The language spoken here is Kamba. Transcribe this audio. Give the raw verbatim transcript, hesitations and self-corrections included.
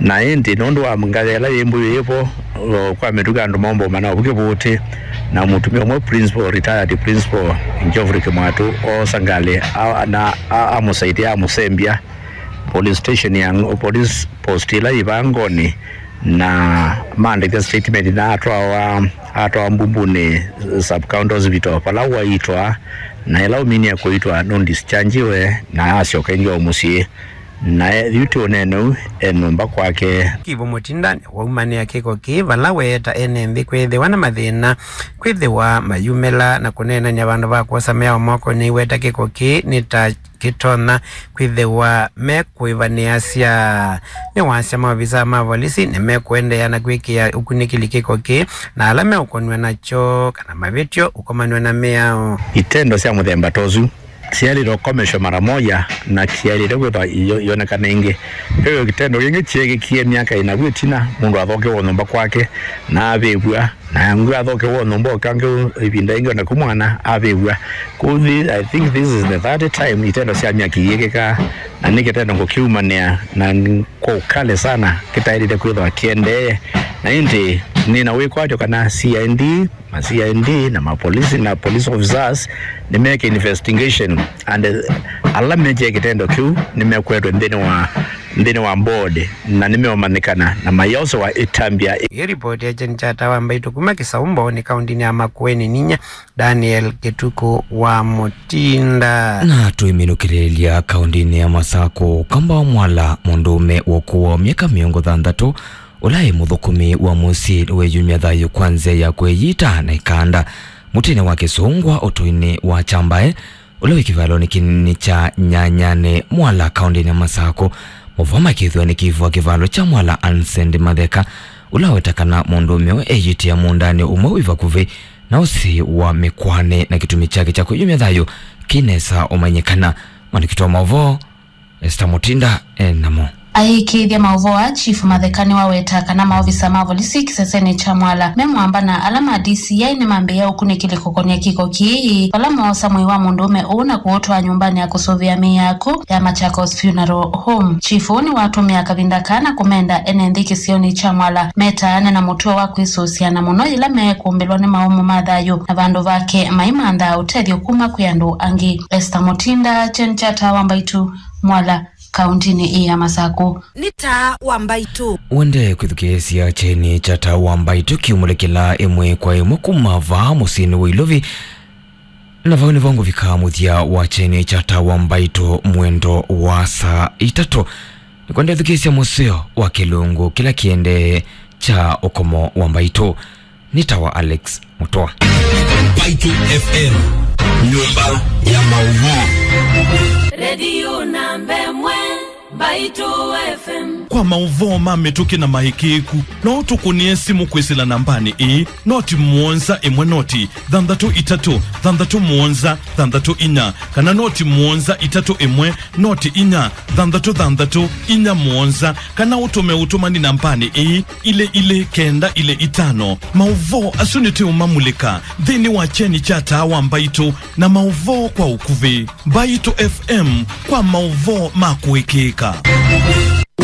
Na ĩndĩ nũndũ wa ngalĩ ĩla yĩ mbũyũ yĩ vo, o, kwa mĩtũkĩ andũ maũmbũma na ũvu kĩvũtĩ, na mũtumĩa ũmwe principal, retired principal Geoffrey Kĩmwatũ oosa ngalĩ a-, na a-, amũsaidia, amũsembya police station ya Ng-, police post ĩla yĩ vaa Ngoni, na maandĩka statement na atwawa, atwawa Mbumbunĩ Sub County Hospital, vala waitwa, na ĩla ũminie kũitwa nũndischargiwe na asyoka ĩngĩ o mũsyĩ. Na e, yu tĩ ũneeneu e nyũmba kwake. Kivu Mũtinda nĩwaumanĩa kĩko kĩĩ vala weeta ene nthĩ kwĩthĩwa na mathĩna, kwĩthĩwa mayumĩla na kũneenany'a vandũ va kwosa mĩao moko. Nĩweta kĩko kĩĩ nĩ ta kĩtonya kwĩthĩwa mekũĩvanĩasya. Nĩwasya maovisaa ma volisi nĩmekũendeea na kwĩkĩa ũkunĩkĩli kĩko kĩĩ, na ala meũkonw'a nakyo kana mavĩtyo ũkomanw'a na mĩao. Itendo sya mũthemba ta ũsu syaĩlĩte ũkomeshwa mara moja na kyaĩlĩte kwĩthwa iyo-, iyonekana ĩngĩ. Ve kitendo kĩngĩ kyeekĩkie myaka ĩna vu ĩtina, mũndũ athokewa nyũmba kwake na avĩvw'a, na angĩ athokewa nyũmba ũkangĩ ĩvinda ĩngĩ, o naku mwana avĩvw'a. Kũthi, I think this is the third time itendo sya myaki iyĩkĩkaa, na nĩ kitendo ngũkiumanĩa na n-, kwa ũkali sana kĩtaĩlĩte kwĩthwa kĩendee. Na ĩndĩ nĩ na wĩkwatyo kana C I D, ma C I D na mapolisi na police officers nĩmeke investigation, and, eh, ala mekĩe kĩtendo kĩu nĩmekwetwe nthĩnĩ wa, nthĩnĩ wa board, na nĩmeũmanyĩkana na mayosewa ĩtambya. Ĩ ripoti ya Jane Chata wa Mbaitũ kuma Kĩsaũ Mbooni, kaũntĩnĩ ya Makueni, ninyie Daniel Kĩtukũ wa Mũtinda. Na tũiminũkĩlĩlya kaũntĩnĩ ya Masakũ, Kamba wa Mwala, mũndũũme wa ũkũũ wa myaka mĩongo thanthatũ, ũla ĩ mũthũkũmi wa mũsyĩ, nĩweyumya thayũ kwa nzĩa ya kwĩyita na ĩkanda mũtĩnĩ wa kĩsũngwa ũtũinĩ wa Kyambae, ũla wĩ kĩvalonĩ kĩnini kya Nyanyanĩ Mwala, kaũntĩnĩ ya Masakũ. Maũvoo makĩthw'a nĩ kĩvũa kĩvalo kya Mwala, Ansend Matheka, ũla waweta kana mũndũũme ũyũ eyĩtĩe mũũndanĩ ũmwe wĩ vakuvĩ na ũsĩ wa Mĩkwanĩ, na kĩtumi kyake kya kwĩyumya thayũ kĩnesa ũmanyĩkana. Mwandĩki wa maũvoo Esther Mutinda e namo. Aĩkĩĩthya maũvoo aa, Chief Matheka nĩwaweta kana maovisa ma volisi kĩsesenĩ kya Mwala me mwamba na ala ma D C I nĩmambĩĩa ũkunĩkĩli kũkonya kĩko kĩĩ, vala moosa mwĩĩ wa mũndũũme ũũ na kũũtwaa nyũmbanĩ ya kũsũvĩa mĩĩ ya akw'ũ ya Machakos Funeral Home. Chief ũũ nĩwatũmĩa kavinda kaa na kũmenda ene nthĩ kĩsionĩ kya Mwala metaane na mũtuo wa kwĩsũsya, na mũno yĩla mekũmbĩlwa nĩ maũmũ ma thayũ, na vandũ vake maimanthaa ũtethyo kuma kwĩ andũ angĩ. Esther Mutinda, Kyeni kya Taa wa Mbaitũ, Mwala, kaũntĩnĩ ĩĩ ya Masakũ. Nĩ Taa wa Mbaitũ. Wende kwĩthukĩĩsya Kyeni kya Taa wa Mbaitũ kĩumũlĩkĩla ĩmwe kwa ĩmwe kuma vaa mũsyĩnĩ wa Ilovi, na vau nĩvo ngũvika mũthya wa Kyeni kya Taa wa Mbaitũ mwendo wa saa itatũ. Nĩkwenda ĩthukĩĩsya mũseo wa kĩlungu kĩla kĩendee kya ũkomo wa Mbaitũ. Nĩ Taa wa Alex Mũtwa. Mbaitũ F M, nyũmba ya maũvoo. Redio namba ĩmwe, Mbaitũ F M. Kwa maũvoo ma mĩtũkĩ na maĩkĩĩku, no ũtũkũnĩe simũ kwĩsĩla nambanĩ ĩĩ, noti mũonza ĩmwe noti thanthatũ itatũ thanthatũ mũonza thanthatũ inya, kana noti mũonza itatũ ĩmwe noti inya thanthatũ thanthatũ inya mũonza, kana ũtũme ũtũmani nambanĩ ĩĩ, ilĩ ilĩ kenda ilĩ itano. Maũvoo asu nĩtũũmamulĩka nthĩnĩ wa Kyeni kya Taa wa Mbaitũ na maũvoo kwa ũkuvĩ. Mbaitũ F M, kwa maũvoo ma kũĩkĩĩka.